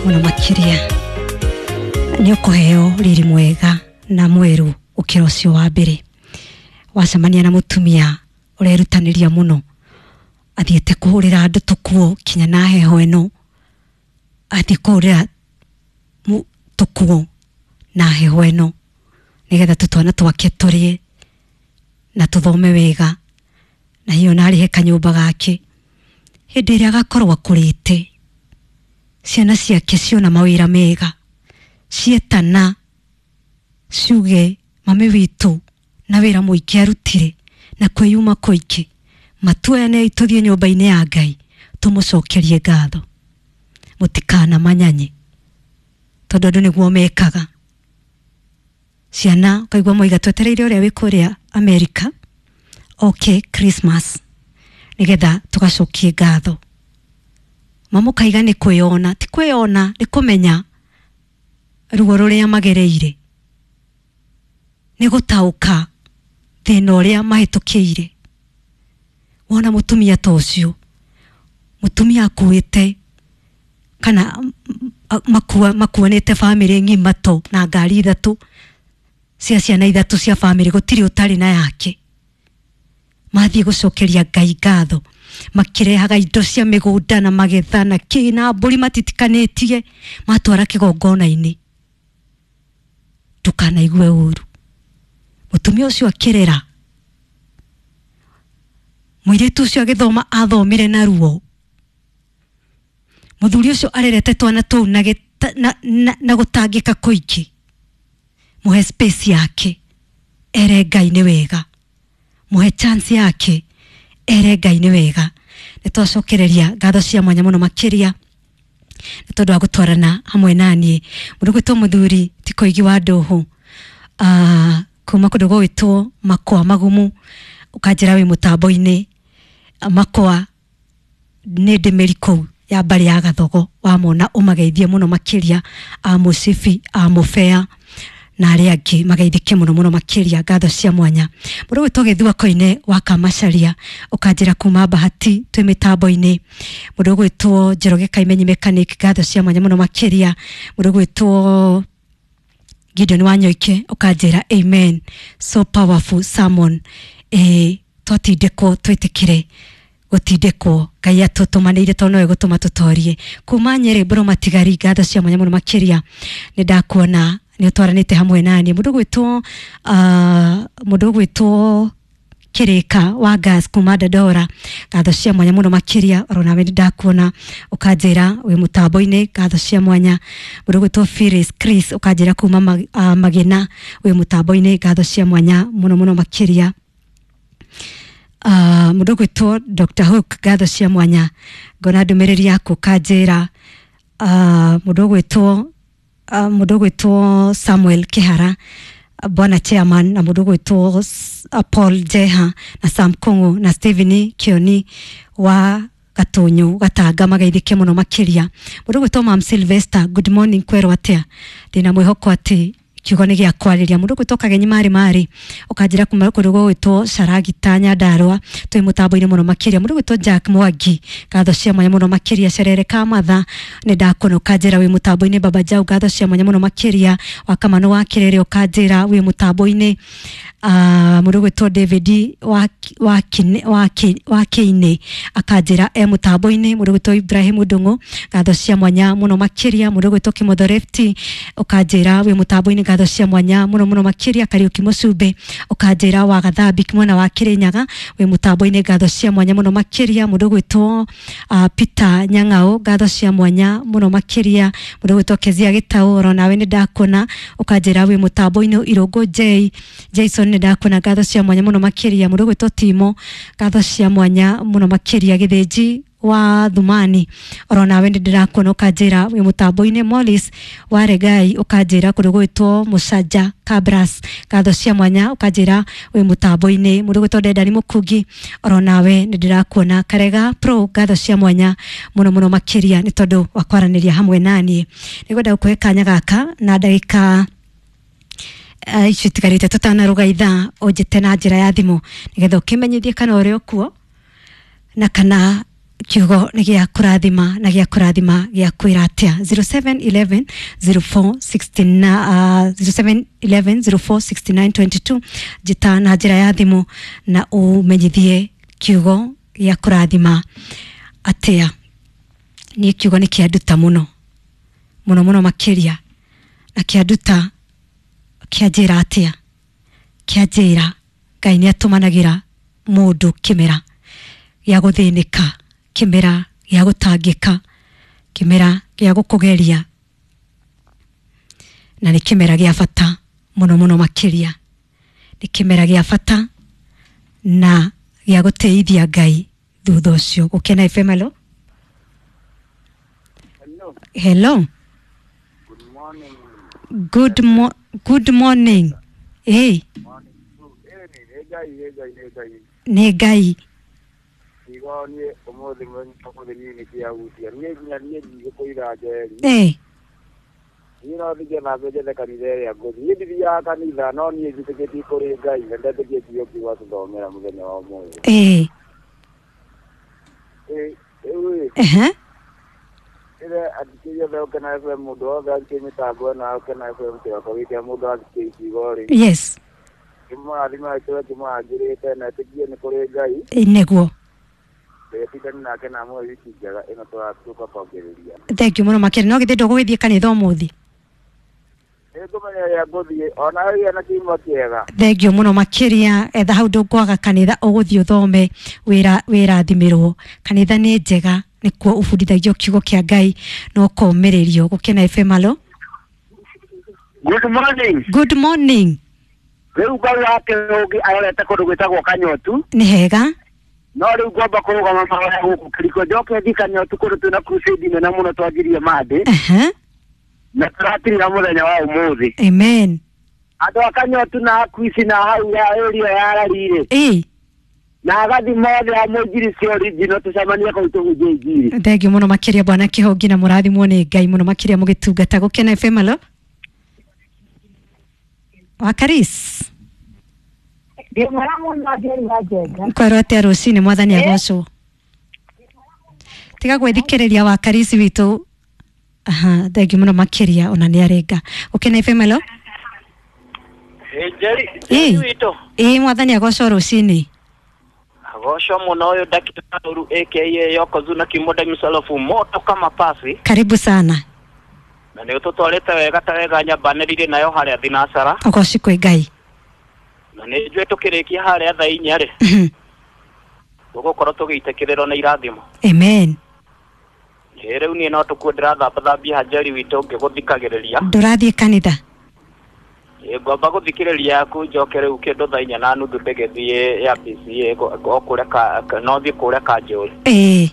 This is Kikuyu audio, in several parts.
Mũno makĩria nĩ ũkũheo riri mwega na mwerũ ũkĩra ũcio wa mbere. Wacemania na mũtumia ũrerutanĩria mũno, athiĩte kũhũrĩra andũ tũkuo kinya na heho ĩno, athiĩ kũhũrĩra tũkuo na heho ĩno nĩgetha tũtwana twake tũrĩe na tũthome wega, na hiyo na arĩhe kanyũmba gake. Hĩndĩ ĩrĩa agakorwo akũrĩte, ciana ciake ciona mawĩra mega, cietana ciuge mami witũ na wĩra mũingĩ arutire na kwĩyuma kũingĩ, matuoyane tũthiĩ nyũmba-inĩ ya Ngai tũmũcokerie ngatho. Mũtikanamanyanye tondũ andũ nĩguo mekaga. Ciana ũkaigua moiga twetereire ũrĩa wĩ kũrĩa Amerika oke Christmas nĩgetha tũgacokie ngatho. Mamũkaiga nĩ kwĩyona, ti kwĩyona, nĩ kũmenya ruo rũrĩa magereire, nĩ gũtaũka thĩna ũrĩa mahĩtũkĩire. Wona mũtumia ta ũcio, mũtumia akuĩte kana makuanĩte bamĩrĩ ng'ima to na ngari ithatũ cia ciana ithatũ cia bamĩrĩ, gũtirĩ ũtarĩ na yake. Mathiĩ gũcokeria Ngai ngatho, makĩrehaga indo cia mĩgũnda na magetha na kĩ na mbũri matitikanĩtie, matwara kĩgongona-inĩ. Ndũkanaigue ũru. Mũtumia ũcio akĩrera mũirĩtu ũcio, agĩthoma athomire na ruo. Mũthuri ũcio arerete twana tũu na gũtangĩka kũingĩ. Mũhe space yake ere Ngai nĩ wega, mũhe chance yake ere Ngai nĩ wega. Nĩ twacokereria ngatho cia mwanya mũno makĩria nĩ tondũ wa gũtwarana hamwe naniĩ. Mũndũ gwĩtwo mũthuri ti Koigi wa Ndũhũ, kuma kũndũ gũgwĩtwo Makwa Magumu, ũkanjĩra wĩ mũtambo-inĩ. Makwa nĩ ndĩmĩri kũu ya mbarĩ ya Gathogo, wamona ũmageithie mũno makĩria, a Mũcibi, a Mũbea na arĩa angĩ mageithĩke mũno mũno makĩria, ngatho cia mwanya. Mũndũ gwĩtwo Gĩthua Koine wa Kamacaria, ũkanjĩra kuma Bahati twĩ mĩtambo-inĩ. Mũndũ gwĩtwo Njoroge Kaimenyi mechanic, ngatho cia mwanya mũno makĩria. Mũndũ gwĩtwo Gideon Wanyoike, ũkanjĩra amen, so powerful sermon. Twatindĩkwo twĩtĩkĩre gũtindĩkwo, Ngai atũtũmanĩire tondũ nowe gũtũma tũtorie. Kuma Nyĩrĩ Mbũrũ Matigari, ngatho cia mwanya mũno makĩria, nĩ ndakuona nĩ ũtwaranĩte hamwe naniĩ. Mũndũ ũgwĩtwo Kĩrĩka wa gas kuma Dandora, ngatho cia mwanya mũno makĩria, oro nawe nĩ ndakuona ũkanjĩra wĩ mũtambo-inĩ, ngatho cia mwanya. Mũndũ ũgwĩtwo Phyllis Chris, ũkanjĩra kuma Magina wĩ mũtambo-inĩ, ngatho cia mwanya mũno mũno makĩria. Mũndũ ũgwĩtwo Dr. Hook, ngatho cia mwanya, ngona ndũmĩrĩri yaku ũkanjĩra. Mũndũ ũgwĩtwo Samuel Kĩhara, bwana chairman, na mũndũ ũgwĩtwo Paul Jeha na Sam Kung'u na Stephen Kioni wa Gatunyu Gatanga, mageithĩke mũno makĩria. Mũndũ ũgwĩtwo Mam Sylvester, good morning, kwerwo atĩa? Ndĩna mwĩhoko atĩ kiugo nĩ gĩa kwarĩria. Mũndũ ũgwĩtwo Kagenyi Marĩ Marĩ, ũkanjĩra kuma kũndũ gũgwĩtwo Caragita Nyandarũa, twĩ mũtambo-inĩ mũno makĩria. Mũndũ ũgwĩtwo Jack Mwangi, ngatho cia mwanya mũno makĩria. Cerere Kamatha, nĩ ndakuona ũkanjĩra wĩ mũtambo-inĩ. Baba Jau, ngatho cia mwanya mũno makĩria. Wa Kamano wa Kĩrĩrĩ, ũkanjĩra wĩ mũtambo-inĩ. Mũndũ ũgwĩtwo David wa Kĩinĩ, akanjĩra e mũtambo-inĩ. Mũndũ ũgwĩtwo Ibrahim Ndung'u, ngatho cia mwanya mũno makĩria. Mũndũ ũgwĩtwo Kĩmotho Lefti, ũkanjĩra wĩ mũtambo-inĩ, ngatho cia mwanya mũno mũno makĩria. Kariũki Mũcumbĩ, ũkanjĩra wa Gathambi mwena wa Kĩrĩnyaga wĩ mũtambo-inĩ, ngatho cia mwanya mũno makĩria. Mũndũ ũgwĩtwo Peter Nyang'au, ngatho cia mwanya mũno makĩria. Mũndũ ũgwĩtwo Kezia Gĩtaũ, oro nawe nĩ ndakuona ũkanjĩra wĩ mũtambo-inĩ. Irũngũ J Jason, nĩ ndakuona, ngatho cia mwanya mũno makĩria. Mũndũ ũgwĩtwo Timo, ngatho cia mwanya mũno makĩria. Gĩthĩnji wa Thumani, oro nawe nĩ ndĩrakuona ũkanjĩra wĩ mũtambo-inĩ. Morris wa Regai, ũkanjĩra kũndũ gwĩtwo Mũcanja Kabras, ngatho cia mwanya, ũkanjĩra wĩ mũtambo-inĩ. Mũndũ ũgwĩtwo Ndendani Mũkungi, oro nawe nĩ ndĩrakuona. Karega Pro, ngatho cia mwanya mũno mũno makĩria nĩ tondũ wa kwaranĩria hamwe naniĩ. Nĩngwenda gũkũhe kanya gaka na ndagĩka icio itigarĩte tũtanaruga ithaa, ũnjĩte na njĩra ya thimũ nĩgetha ũkĩmenyithie kana ũrĩ o kuo na kana Kiugo nĩ gĩa kũrathima na gĩa kũrathima gĩa kwĩra atĩa? 0711 0469, 0711 0469 22. Njĩta na njĩra ya thimũ na ũmenyithie kiugo gĩa kũrathima atĩa. Niĩ kiugo nĩ kĩanduta mũno mũno mũno makĩria, na kĩanduta kĩanjĩra atĩa? Kĩanjĩra Ngai nĩ atũmanagĩra mũndũ kĩmera gĩa gũthĩnĩka, kĩmera gĩa gũtangĩka, kĩmera gĩa gũkũgeria, na nĩ kĩmera gĩa bata mũno mũno makĩria. Nĩ kĩmera gĩa bata na gĩa gũtĩithia Ngai thutha ũcio. Gũkena FM, hello. Hello. Hello. Good morning. Good morning. Hey. Morning. Eh, nĩ Ngai, nĩ Ngai, nĩ Ngai. Nĩ Ngai. Kiugo niĩ ũmũthĩ mũthenya ũmũthĩ niĩ nĩ kĩahutia. Niĩ nginya niĩ ndigũkũira Njeri. Niĩ no thiĩ na mbere njethe kanitha ĩrĩa ngũthiĩ. Niĩ ndithiaga kanitha, no niĩ njĩtĩkĩtie kũrĩ Ngai na ndetĩkie kiugo kĩu atũthomera mũthenya wa ũmũthĩ. Rĩu ĩ, ĩre athikĩrĩria othe Ũkena FM, mũndũ wothe athikĩrĩria mĩtambo ĩno ya Ũkena FM kĩroko gĩkĩ, mũndũ athikĩrĩria kiugo rĩ. Kĩmũrathime gĩtũre kĩmũrangĩrĩte na ĩtĩkie nĩ kũrĩ Ngai. Nĩguo. Ndetindani nake na amũhe wiki njega ĩno tũratuĩka kwambĩrĩria. Thank you mũno makĩria. No githĩ ndũgũgĩthiĩ kanitha ũmũthĩ? Nĩngũmenya ũrĩa ngũthiĩ ona ĩgĩa na kiumia kĩega. Thank you mũno makĩria. Etha hau ndũkwaga kanitha ũgũthiĩ ũthome wĩra wĩrathimĩrwo. Kanitha nĩ njega, nĩkuo ũbundithagio kiugo kĩa Ngai na ũkomĩrĩrio. Gũkena FM, hello. Good morning. Good morning. Rĩu Ngai wa kĩhũngĩ arorete kũndũ gwĩtagwo Kanyotu. Nĩ hega. No rĩu ngwamba kũrũgama mahoya gũkũ kĩriko njoke thiĩ Kanyotu kũndũ twĩna crusade nene mũno twanjirie Monday na tũratirira mũthenya wa ũmũthĩ. Amen. Andũ a Kanyotu na Akuici na hau ya area ya Rarire na agathi mothe a mũinjiri cia original tũcemanie kũu tũhunjie injiri. Thank you mũno makĩria bwana Kĩhongi, na mũrathimwo nĩ Ngai mũno makĩria mũgĩtungata. Gũkena FM, hello. Wakaris. Ndĩ mwega mũno Njeri wa Njenga. Kwerwo atĩa rũcinĩ? Mwathani agocwo. Tiga gwĩthikĩrĩria Wakarisi witũ. Aha, thank you mũno makĩria, ona nĩ arenga. Gũkena FM, hello. Njeri, Njeri witũ. Ĩ, mwathani agocwo rũcinĩ. Agocwo mũno. Ũyũ Ndakĩtaũru aka Yokozuna Kimoda Misalofu moto kama pasi. Karibu sana. Na nĩ ũtũtwarĩte wega ta wega nyambanĩrire nayo harĩa thinacara. Ũgoci kwĩ Ngai. Na nĩ njũĩ tũkĩrĩkia harĩa thaa inya rĩ, tũgũkorwo tũgĩitĩkĩrĩrwo nĩ irathimo. Amen. Ĩ, rĩu niĩ no tũkuo ndĩrathambathambia hanjeri witũ ngĩgũthikagĩrĩria. Ndũrathiĩ kanitha? Ĩ, ngwamba gũthikĩrĩria yaku njoke rĩu kĩndũ thaa inya na nuthu ndĩgĩthiĩ ya PCA o kũrĩa no thiĩ kũrĩa Kanjũri. Ĩ,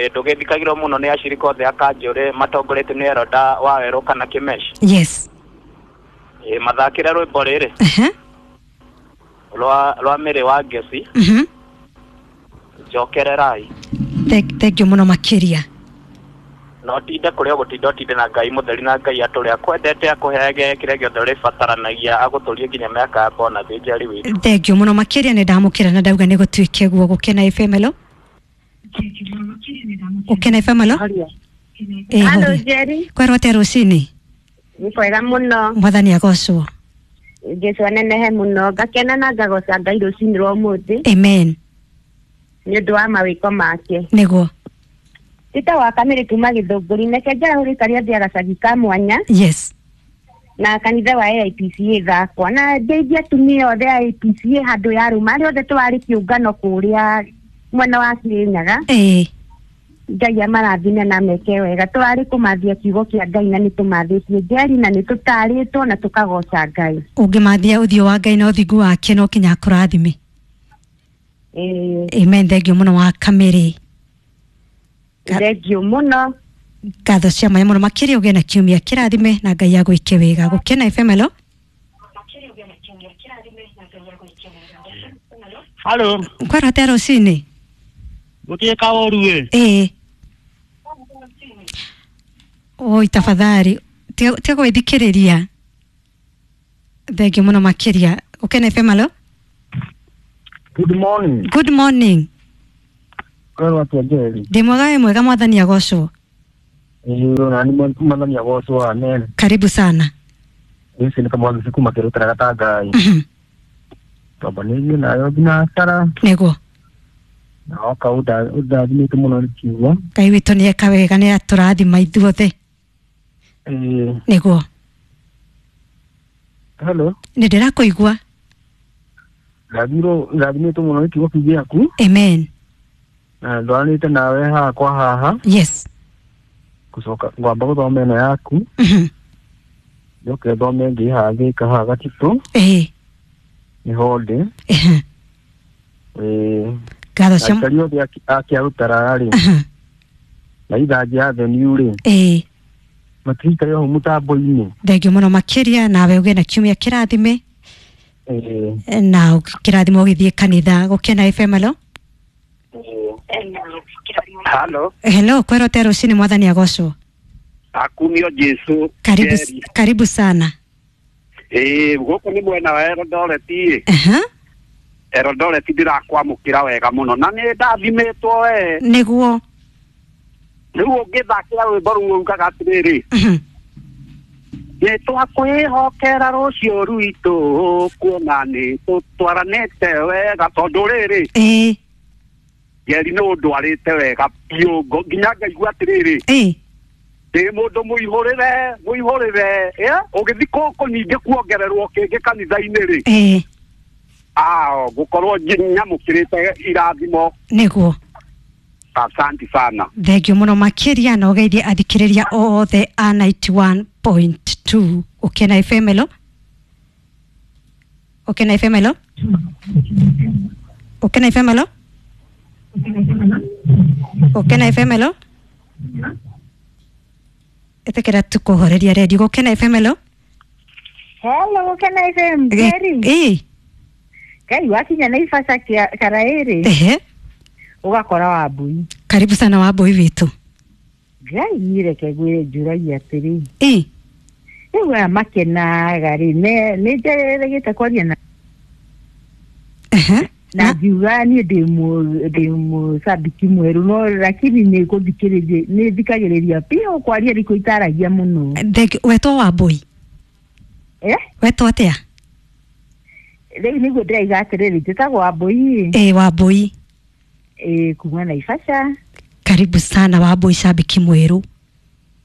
ndũgĩthikagĩrwo mũno nĩ acirika othe a Kanjũri matongoretio nĩ Eroda wa Werũ kana Kĩmeci. Ĩ, mathakĩre rwĩmbo rĩrĩ rwa Mĩrĩ wa Ngeci. Njokererai. Thank you mũno makĩria. No tinde kũrĩa ũgũtinda ũtinde na Ngai mũtheri na Ngai atũrĩa akwendete akũheage kĩrĩa gĩothe ũrĩbataranagia agũtũrie nginya mĩaka ya bona thĩ Njeri witũ. Thank you mũno makĩria, nĩ ndamũkĩra na ndauga nĩ gũtuĩke guo. Gũkena FM, hello. Gũkena FM, hello. Ĩ, Hello horia. Njeri. Kwerwo atĩa rũcinĩ? Nĩ kwega mũno. Mwathani agocwo. Jesũ anenehe mũno. Ngakena na ngagoca Ngai rũcinĩ rwa ũmũthĩ Amen. nĩ ũndũ wa mawĩko make. Nĩguo. Tita wa Kamĩrĩ kuma Gĩthũngũri, neke njarahũrĩ karĩa thĩ gacagi ka mwanya na kanitha wa AIPCA thakwa na ndeithia atumia othe a AIPCA handũ ya rũma arĩa othe twarĩ kĩũngano kũrĩa mwena wa Kĩrĩnyaga. Ngai amarathime na meke wega. Tũrarĩ kũmathia kiugo kĩa Ngai na nĩ tũmathĩtie Njeri na nĩ tũtarĩtwo na tũkagoca Ngai. Ũngĩmathia ũthiũ wa Ngai na ũthingu wake no kinya akũrathime. Amen. Thank you mũno wa Kamĩrĩ. Thank you mũno. Ngatho cia mwanya mũno makĩria, ũgĩe na kiumia kĩrathime na Ngai agwĩke wega. Gũkena FM, hello. Halo, Kwerwo atĩa rũcinĩ? Gũtirĩ kaũru ĩ. Ĩ. Oi, tafadhali tiga gwĩthikĩrĩria. Thank you mũno makĩria. Gũkena FM, hello. Good morning. Good morning. Kwero atia Njeri? Ndĩ mwega wĩ mwega mwathani agocwo. Ĩĩ na ni mwathani agocwo amen. Karibu sana. Ici nĩ kamwangi kuma kĩrutara gatangai. Twambanĩirie nayo thinacara. Nĩguo. Na oka ũndathimĩte mũno nĩ kiugo. Ngai witũ nĩ eka wega nĩ atũrathima ithuothe. Ĩĩ. Nĩguo. Hello. Nĩ ndĩrakũigua. Ndathimĩtwo mũno nĩ kiugo kĩu gĩaku. Amen. Na ndwaranĩte nawe haha kwa haha. Yes. Gũcoka ngwamba gũthoma ĩno yaku. Njoke thome ĩngĩ haha Thika haha Gatitũ. Ĩĩ. Nĩho ndĩ. Ĩĩ. Ngatho cia aikari othe a Kĩarutara rĩ. Na Ithanjĩ Avenue rĩ. Ĩĩ. Matirikare hau mũtambo-inĩ. Thengiũ mũno makĩria nawe ũgĩe na kiumia kĩrathime. Ĩĩ. Na kĩrathimo ũgĩthiĩ kanitha. Gũkena FM hello. Hello. Hello, kwero te rũcinĩ mwathani agocwo. Akumio Jesu. Karibu, karibu sana. Ĩĩ gũkũ nĩ mwena wa Eldoret ĩ. Eldoret ndĩrakwamũkĩra wega mũno na nĩ ndathimĩtwo we. Nĩguo. Rĩu ũngĩthakĩra rwĩmbo rũu ugaga atĩrĩrĩ. Nĩ twakwĩhokera rũciũ rwitũ kuona nĩ tũtwaranĩte wega tondũ rĩrĩ. Ĩĩ. Njeri nĩ ũndwarĩte wega biũ nginya ngaigua atĩrĩrĩ. Ĩĩ. Ndĩ mũndũ mũihũrĩre mũihũrĩre ũgĩthiĩ kũkũ ningĩ kuongererwo kĩngĩ kanitha-inĩ rĩ. Ĩĩ. Ao gũkorwo nyamũkĩrĩte irathimo. Nĩguo. Asante sana. Thengiũ mũno makĩria na ũgeithie athikĩrĩria othe a 91.2 Ũkena FM hello. Ũkena FM hello. Ũkena FM hello. Ũkena FM hello. Ĩtĩkĩra tukũhoreria redio. Gũkena FM hello. Hello, Gũkena FM Njeri. Ĩĩ. Ngai wakinya Naivasha Karaĩrĩ. Ehe. Ũgakora Wambui. Karibu sana Wambui witũ. Ngai niĩ reke ngwĩre njũragia atĩrĩ. Ĩĩ. Rĩu aya makenaga rĩ nĩ njeregete kwaria na na ngiuga niĩ ndĩ mũcambiki mwerũ no lakini nĩ gũthikĩrĩria nĩ thikagĩrĩria biũ kwaria nĩkuo itaragia mũno. Wetwo Wambui? Wetwo atĩa? Rĩu nĩguo ndĩraiga atĩrĩrĩ njĩtagwo Wambui. Ĩĩ Wambui. Ĩĩ kuma Naivasha. Karibu sana Wambui cambiki mwerũ.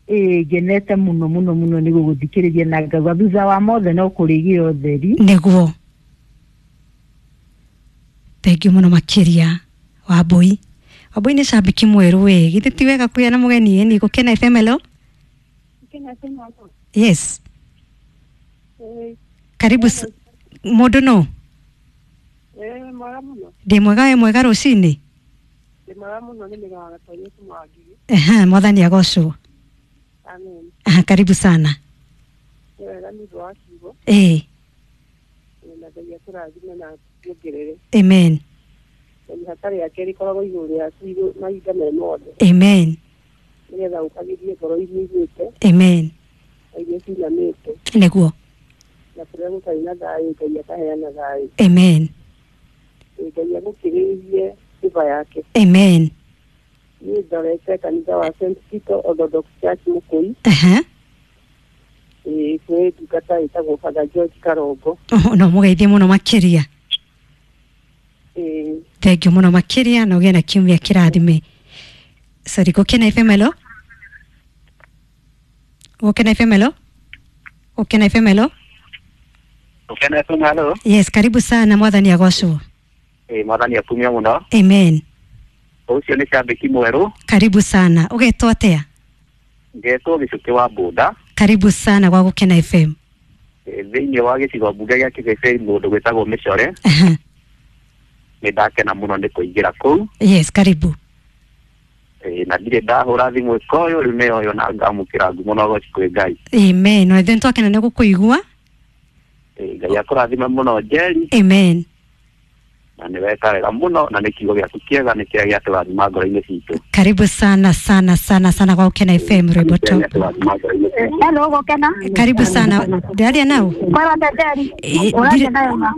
Ĩĩ ngenete mũno mũno mũno nĩ gũgũthikĩrĩria na ngauga thutha wa mothe no kũrĩgĩa ũtheri. Nĩguo. Thengiũ mũno makĩria Wambui. Wambui nĩ cambiki mwerũ wĩ githĩ ti wega kũgĩa na mũgeni ĩni. Gũkena FM hello. Yes. Karibu mũndũ no. Ndĩ mwega wĩ mwega rũcinĩ. Ndĩ mwega mũno nĩ mĩgaga Yesu Mwangigi. Ehe, mwathani agocwo. Amen. Aha, karibu sana. Nĩ wega nĩ ũndũ wa kiugo. Ĩĩ. Na Ngai atũrathime na atuongerere. Amen. Na ihata rĩake rĩkoragwo igũrũ rĩaku mahinda me mothe. Amen. Nĩgetha ũkagĩrie ngoro iria iguĩte. Amen. Na iria cinamĩte. Nĩguo. Na kũrĩa gũtarĩ na thayũ Ngai akaheana thayũ. Amen. Ngai agũkĩrĩrie sifa yake. Amen. Niĩ ndorete kanitha wa St. Peter Orthodox Church Mũkũi. Ĩĩ kwĩ ndungata ĩtagwo Father George Karongo. No mũgeithie mũno makĩria. Ĩĩ. Thengiũ mũno makĩria na ũgĩe na kiumia kĩrathime. Sorry, Gũkena FM hello. Gũkena FM hello. Gũkena FM hello. Gũkena FM hello. Yes, karibu sana mwathani agocwo. Ĩĩ mwathani akumio mũno. Amen. Ũcio nĩ cambiki mwerũ. Karibu sana. Ũgetwo atĩa? Ngetwo Gĩcukĩ wa Bunda. Karibu sana gwa Gũkena FM. Thĩinĩ wa gĩcigo mbunge gĩa Kĩbĩbĩri mũndũ gwĩtagwo Mĩcore. Nĩ ndakena mũno nĩ kũingĩra kũu. Yes, karibu. Na ndirĩ ndahũra thimũ ĩkoyũ rĩu nĩyo yo na ngamũkĩra ngumo na ũgoci kwĩ Ngai. Amen. Na ithuĩ nĩtwakena nĩ gũkũigua. Ngai akũrathime mũno Njeri. Amen. Na nĩ weka wega mũno na nĩ kiugo gĩaku kĩega nĩ kĩrĩa gĩatũrathima ngoro-inĩ citũ. Karibu sana sana sana sana kwa Gukena FM rwĩmbo top. Hello Gukena. Karibu sana. Ndĩraria nao? Ũraria nayo ma.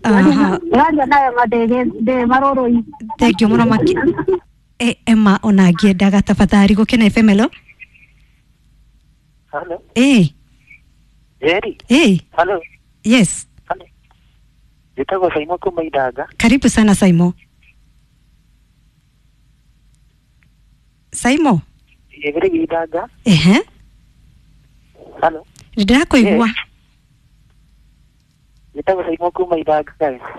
Aha. Ũraria nayo ma ndĩ marũrũ-inĩ. Thank you mũno maki. Emma ona ngĩendaga tafadhali Gukena FM hello. Hello. Hello. Yes. Hello. Njĩtagwo Saimo kuma Ithanga. Karibu sana Saimo. Saimo. Ĩgĩrĩ Ithanga. Ehe. Hello. Ndĩrakũigua. Njĩtagwo Saimo kuma Ithanga.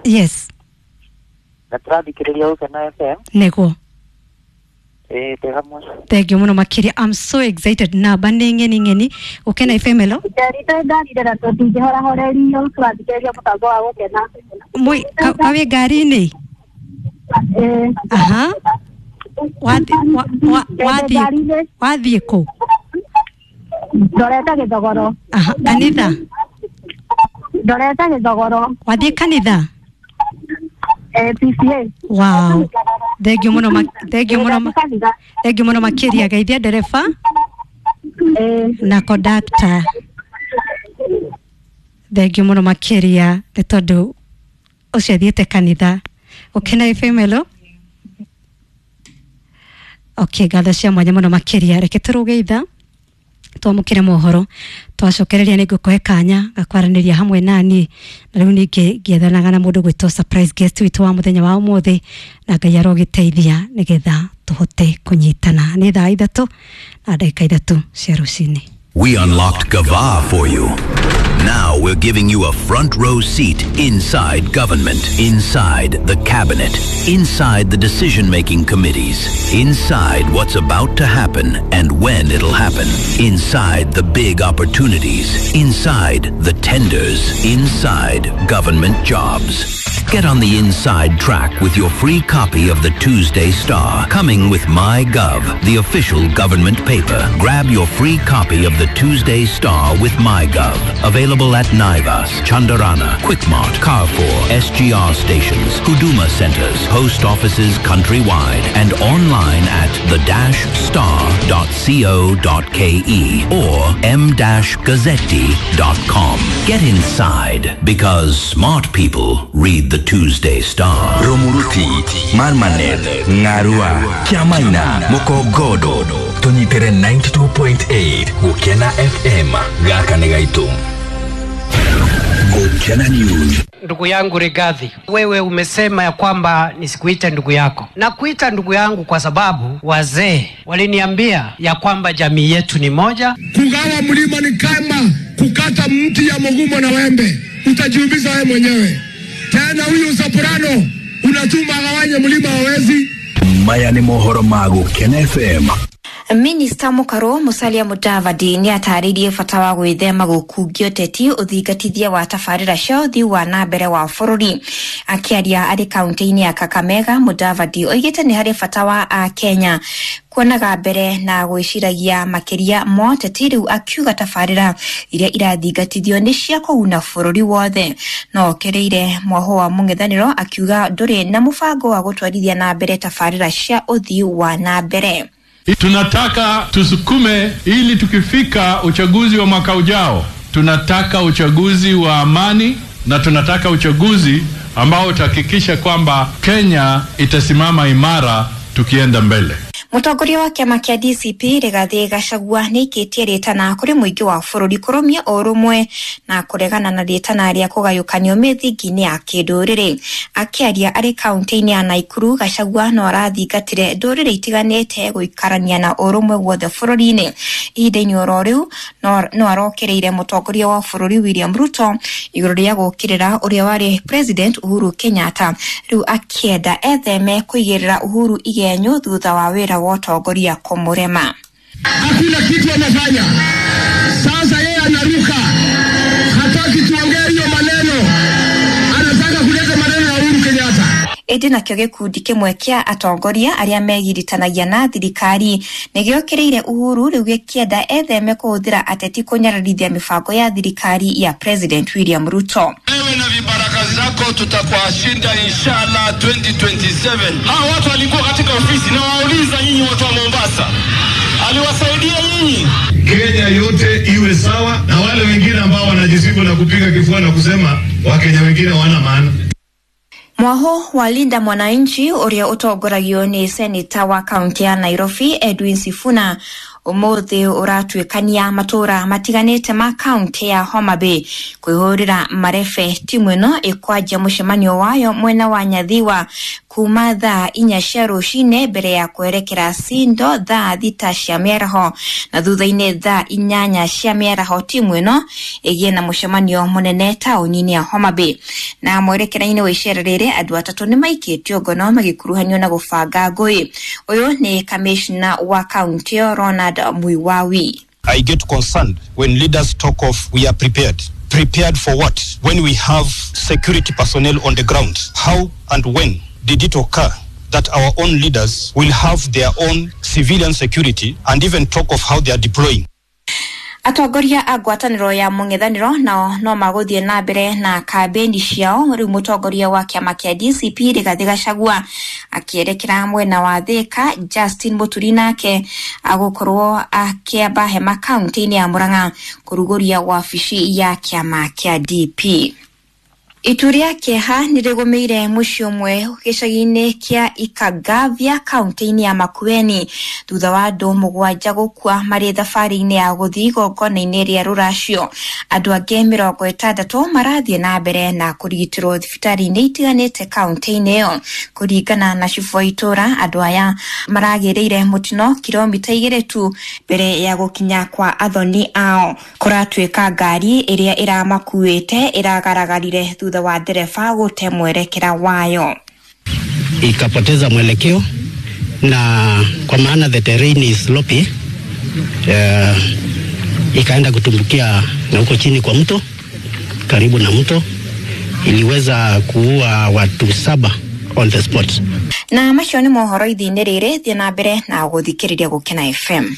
Yes. Na tũrathikĩrĩria Gukena FM. Nĩguo. Twĩ hamwe. Thank you mũno makĩria. I'm so excited. Namba nĩ ng'eni ng'eni. Gukena FM hello. Njerite ngarire na tũtingĩhorahorerio tũrathikĩrĩria mũtambo wa Gukena. Mwĩ kawĩ ngari-inĩ? Aha. Wathiĩ kũ? Ndorete Gĩthogoro. Aha, kanitha? Ndorete Gĩthogoro. Wathiĩ kanitha? PCA. Wow. Thank you mũno thank you mũno thank you mũno makĩria. Geithia ndereba na conductor. Thank you mũno makĩria nĩ tondũ ũcio athiĩte kanitha. Gukena FM hello. Okay, ngatho cia mwanya mũno makĩria. Reke tũrũge itha twamũkĩre mohoro twacokereria nĩ ngũkũhe kanya gakwaranĩria hamwe nani na rĩu ningĩ ngĩethanaga na mũndũ gwĩtwo surprise guest witũ wa mũthenya wa ũmũthĩ na Ngai arogĩteithia nĩgetha tũhote kũnyitana. Nĩ thaa 3 na ndagĩka 3 cia rũcinĩ. We unlocked Gava for you. Now we're giving you a front row seat inside government, inside the cabinet, inside the decision-making committees, inside what's about to happen and when it'll happen, inside the big opportunities, inside the tenders, inside government jobs. Get on the inside track with your free copy of the Tuesday Star, coming with MyGov, the official government paper. Grab your free copy of the Tuesday Star with MyGov. Available at Naivas, Chandarana, Quickmart, Carrefour, SGR stations, Huduma centers, post offices countrywide, and online at the-star.co.ke or m-gazzetti.com. Get inside, because smart people read the Tuesday Star. Romuruti, Marmanet, Ngarua, Kiamaina, Mukogodo, tunyitere 92.8 Gukena FM, gaka nĩ gaitũ. Gukena News. Ndugu yangu Rigathi, wewe umesema ya kwamba nisikuite ndugu yako. Nakuita ndugu yangu kwa sababu wazee waliniambia ya kwamba jamii yetu ni moja. Kugawa mlima ni kama kukata mti ya mugumo na wembe, utajiumiza wewe mwenyewe. Tena huyu soprano unatuma agawanye mlima hawezi. Maya ni mohoro ma Gukena FM. Minista Mukaro Musalia Mudavadi ni atarĩirie bata wa gwĩthema gũkungio ũteti ũthingatithia wa tabarĩra cia ũthii wa na mbere wa bũrũri. Akĩaria arĩ kaunti-inĩ ya Kakamega, Mudavadi oigĩte nĩ harĩ bata wa Akenya kuonaga mbere na gwĩciragia makĩria ma ũteti rĩu, akiuga tabarĩra iria irathingatithio nĩ cia kũguna bũrũri wothe. No okereire mwaho wa mũng'ethanĩro akiuga ndũrĩ na mũbango wa gũtwarithia na mbere tabarĩra cia ũthii wa na mbere. Tunataka tusukume ili tukifika uchaguzi wa mwaka ujao, tunataka uchaguzi wa amani na tunataka uchaguzi ambao utahakikisha kwamba Kenya itasimama imara tukienda mbele. Mũtongoria wa kĩama kĩa DCP Rigathi Gachagua nĩaikĩtie rĩtana kũrĩ mũingĩ wa bũrũri kũrũmia ũrũmwe na kũregana na rĩtana rĩa kũgayũkanio mĩthingi-inĩ ya kĩndũrĩrĩ. Akĩaria arĩ kaunti-inĩ ya Nakuru, Gachagua no arathingatire ndũrĩrĩ itiganĩte gũikarania na ũrũmwe guothe bũrũri-inĩ. Ihinda-inĩ oro rĩu no arokereire mũtongoria wa bũrũri William Ruto igũrũ rĩa gũũkĩrĩra ũrĩa warĩ President Uhuru Kenyatta, rĩu akĩenda etheme kũigĩrĩra Uhuru igenyo thutha wa wĩra wa ũtongoria kũmũrema. Hakuna kitu amefanya. Sasa yeye anaruka, hataki tuongee hiyo maneno, anataka kuleta maneno ya Uhuru Kenyatta. Ĩndĩ nakĩo gĩkundi kĩmwe kĩa atongoria arĩa megiritanagia na thirikari nĩ gĩokĩrĩire Uhuru rĩu gĩkĩenda etheme kũhũthĩra ateti kũnyararithia mĩbango ya thirikari ya President William Ruto. Wewe na vibaraka zako, tutakuwashinda inshallah 2027. Hawa watu walikuwa katika ofisi na wauliza nyinyi watu wa Mombasa, aliwasaidia nyinyi? Kenya yote iwe sawa na wale wengine ambao wanajisifu na kupiga kifua na kusema Wakenya wengine hawana maana. Mwaho wa Linda Mwananchi uria utongoragio ni seneta wa kaunti ya Nairobi Edwin Sifuna umuthi uratuikania matura matiganite ma kaunti ya Homa Bay kwihurira marebe. Timu ino ikwanjia mucemanio wayo mwena wa Nyathiwa kuma thaa 4 cia rucini mbere ya kwerekera Sindo thaa 6 cia miaraho na thutha-ini thaa 8 cia miaraho timu ino igie na mucemanio munene tauni-ini ya Homa Bay. Na mwerekera-ini wa icera riri andu atatu ni maikitio ngono magikuruhanio na gubanga ngui. Uyu ni kamishna wa kaunti ĩyo Ronald Muiwawi. I get concerned when leaders talk of we are prepared. Prepared for what? When we have security personnel on the ground. How and when did it occur that our own leaders will have their own civilian security and even talk of how they are deploying? Atongoria a ngwatanĩro ya mũng'ethanĩro nao no magũthiĩ na mbere na kambĩini ciao. Rĩu mũtongoria wa kĩama kĩa DCP Rigathĩ Gachagua akĩerekera mwena wa Thika, Justin Muturi nake agũkorwo akĩamba hema kaunti-inĩ ya Murang'a kũrugũria wabici ya kĩama kĩa DP. Itu rĩa kĩeha nĩ rĩgũmĩire mũciĩ ũmwe gĩcagi-inĩ kĩa Ikagavya kaunti-inĩ ya Makueni thutha wa andũ 7 gũkua marĩ thabarĩ-inĩ ya gũthiĩ igongona-inĩ rĩa rũracio. Andũ angĩ 60 marathiĩ na mbere na kũrigitĩrwo thibitarĩ-inĩ itiganĩte kaunti-inĩ ĩyo. Kũringana na cibũ wa itũũra, andũ aya maragĩrĩire mũtino kilomita 2 tu mbere ya gũkinya kwa athoni ao. Kũratuĩka ngari ĩrĩa ĩramakuĩte ĩragaragarire thutha wa ndereba gũte mwerekera wayo, ikapoteza mwelekeo, na kwa maana the terrain is slopy, ikaenda kutumbukia na huko chini kwa mto, karibu na mto, iliweza kuua watu 7 on the spot. Na macio nĩ mohoro ithiinĩ rĩrĩ, thiĩ na mbere na gũthikĩrĩria Gũkena FM.